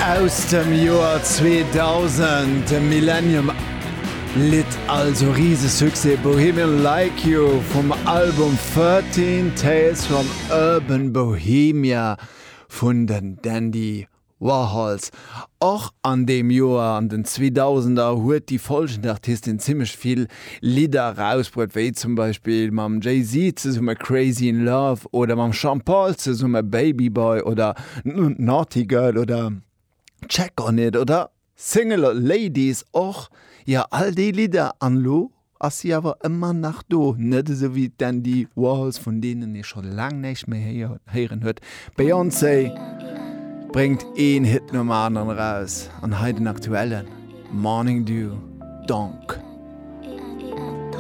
Aus dem Joer 2000, de Millennium Lidd, also Risesuccès, Bohemian Like You vum Album 13 Tales from Urban Bohemia vun den Dandy Warhols. Och an deem Joer, an den Zweedausender, huet déi folgend Artistin zimmlech vill Lidder erausbruet, wéi zum Beispill mam Jay-Z zesumme Crazy in Love oder mam Sean Paul zesumme Baby Boy oder Naughty Girl oder Check on It oder Single Ladies och. Jo, all déi Lidder an elo Ass si awer ëmmer nach do, net esou wéi d'Andy Warhols, vun deenen ee scho laang näischt méi héieren huet. Beyoncé bréngt een Hit nom aneren eraus an hei den aktuellen Morning Dew, Donk.